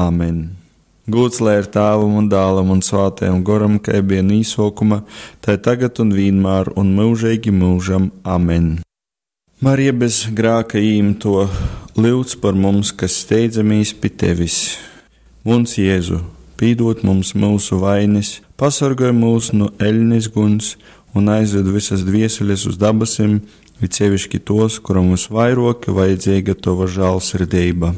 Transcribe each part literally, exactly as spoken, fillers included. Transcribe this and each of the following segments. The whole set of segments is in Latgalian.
Amen. Gūds lai ir Tēvam un Dālam un Svātajam Goram, kai bija no īsokuma, tai tagad un vienmēr un mūžīgi mūžam. Amen. Marija bez grāka īmto, lyudz par mums, kas steidzamies pie tevis. Muns Jēzu, pīdot mums mūsu vainas, pasargāj mūs no eļnes guns un aizved visas dvieseles uz dabasim, it sevišķi tos, kuram visvairāk vajadzīga tava žēlsirdība.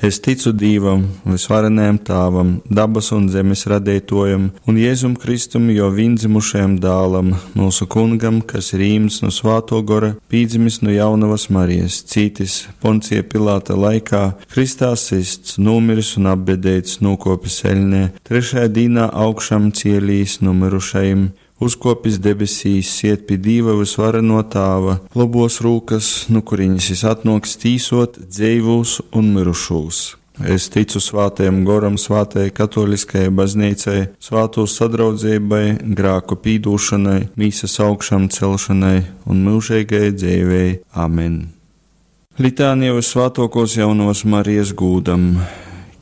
Es ticu Dīvam, visvarenajam Tāvam, dabas un zemes radītojam, un Jēzum Kristum, jo viendzimušajam dālam, mūsu kungam, kas ir īmts no svāto gora, pīdzimis no jaunavas Marijas, cītis Poncija Pilāta laikā, Kristā sists, nomiris un apbedēts, nokopis eļnē, trešajā dīnā augšām cielīs nomirušajiem, uzkopis debesīs, siet pie Dīva visvareno Tāva, lobos rūkas, nu kuriņas jis atnoks tīsot dzeivūs un mirušūs. Es ticu svātajam goram, svātajai katoliskajai baznīcai, svāto sadraudzībai, grāku pīdūšanai, mīsas augšām celšanai un mūžīgai dzīvei. Amen. Litānija visvātokos jaunos Marijas gūdam.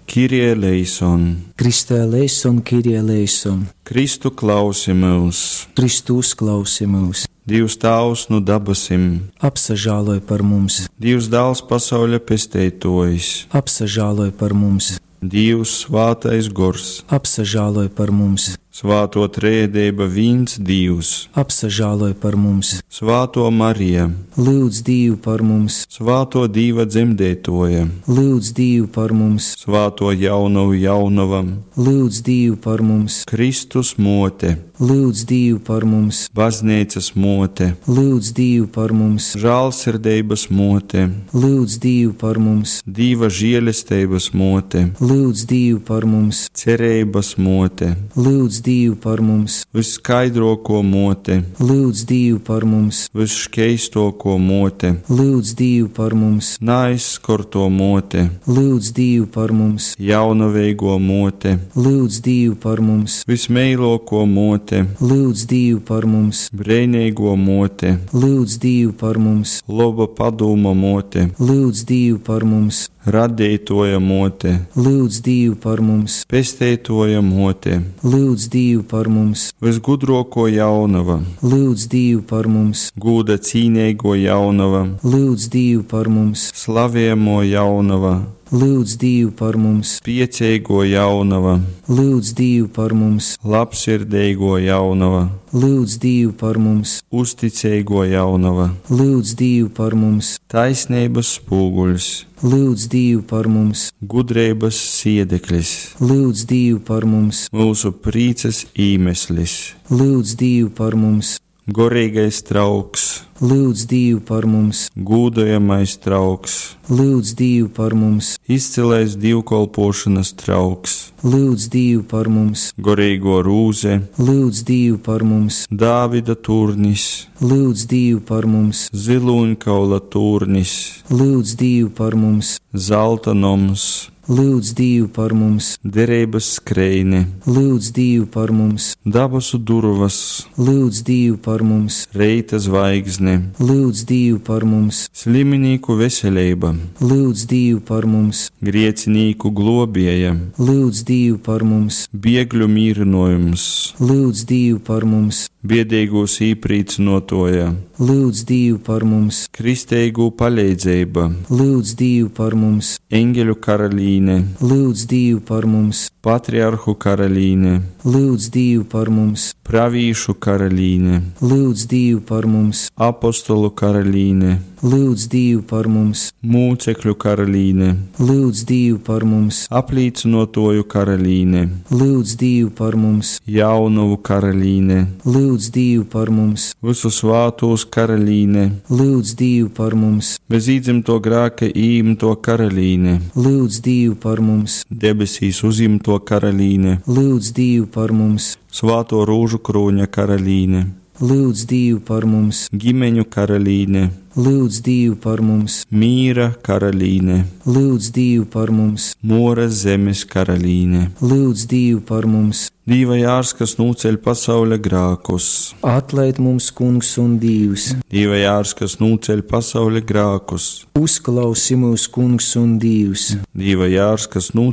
Kirie eleison, Kristē eleison, Kirie eleison, Kristu klausi mūs, Kristu uzklausi mūs, Dievs Tāvs nu dabasim, apsažāloj par mums, Dievs Dāls pasauļa pesteitojs, apsažāloj par mums, Dievs svātais gors, apsažāloj par mums, svāto trēdība vīns Dievs, apsažāloj par mums, svāto Marija, lūdz Dievu par mums, svāto Dīva dzemdētoja, lūdz Dievu par mums, svāto jaunavu jaunavam, lūdz Dievu par mums, Kristus mote, lūdz Dievu par mums, baznīcas mote, lūdz Dievu par mums, žālsirdības mote, lūdz Dievu par mums, Dīva žēlestības mote, lūdz Dievu par mums, cerības mote, lūdz Dievu par mums, visskaidroko mote, lūdz Dievu par mums, visškeistoko mote, lūdz Dievu par mums, naizskorto mote, lūdz Dievu par mums, jaunaveigo mote, lūdz Dievu par mums, vismeiloko mote, lūdz Dievu par mums, brēnīgo mote, lūdz Dievu par mums, laba padūma mote, lūdz Dievu par mums, radītoja mote, lūdz Dievu par mums, pesteitoja mote, lūdz Dievu par mums, visgudroko jaunava, lūdz Dievu par mums, gūda cīnīgo jaunava, lūdz Dievu par mums, slavējamo jaunava, lūdz Dievu par mums, piecīgo jaunava, lūdz Dievu par mums, labsirdīgo jaunava, lūdz Dievu par mums, uzticīgo jaunava, lūdz Dievu par mums, taisnības spūguļs, lūdz Dievu par mums, gudrības siedeklis, lūdz Dievu par mums, mūsu prīces īmeslis, lūdz Dievu par mums, gorīgais trauks, lūdz Dievu par mums, gūdojamais trauks, lūdz Dievu par mums, izcilais dievkalpošanas trauks, lūdz Dievu par mums, gorīgo rūze, lūdz Dievu par mums, Dāvida turnis, lūdz Dievu par mums, ziluņkaula turnis, lūdz Dievu par mums, zelta noms, lūdz Dievu par mums, derības skreine, lūdz Dievu par mums, dabasu durvas, lūdz Dievu par mums, reita zvaigzne, lūdz Dievu par mums, sliminīku veselība, lūdz Dievu par mums, griecinīku globēja, lūdz Dievu par mums, biegļu mīrinojums, lūdz Dievu par mums, biedīgos īprīcinotoja, lūdz Dievu par mums, kristeigu palīdzība, lūdz Dievu par mums, eņģeļu karalīne, lūdz Dievu par mums, patriarhu karalīne, lūdz Dievu par mums, pravīšu karalīne, lūdz Dievu par mums, apostolu karalīne, lūdz Dievu par mums, mūcekļu karalīne, lūdz Dievu par mums, aplīcinotoju karalīne, lūdz Dievu par mums, jaunavu karalīne, lūdz Dievu par mums, visu svātos karalīne, lūdz Dievu par mums, bez īdzimto grāka īmto karalīne, lūdz Dievu par mums, debesīs uzimto karalīne, lūdz Dievu par mums, svāto rūžu krūņa karalīne, lūdz Dievu par mums, ģimeņu karalīne, lūdz Dievu par mums, mīra karalīne, lūdz Dievu par mums, Moras zemes karalīne, lūdz Dievu par mums, Dīva jārs, kas nūceļ pasauļa grākus, atlaid mums kungs un Dievs, Dīva jārs, kas nūceļ pasauļa grākus, uzklausi mūs kungs un Dievs, Dīva jārs, kas nūceļ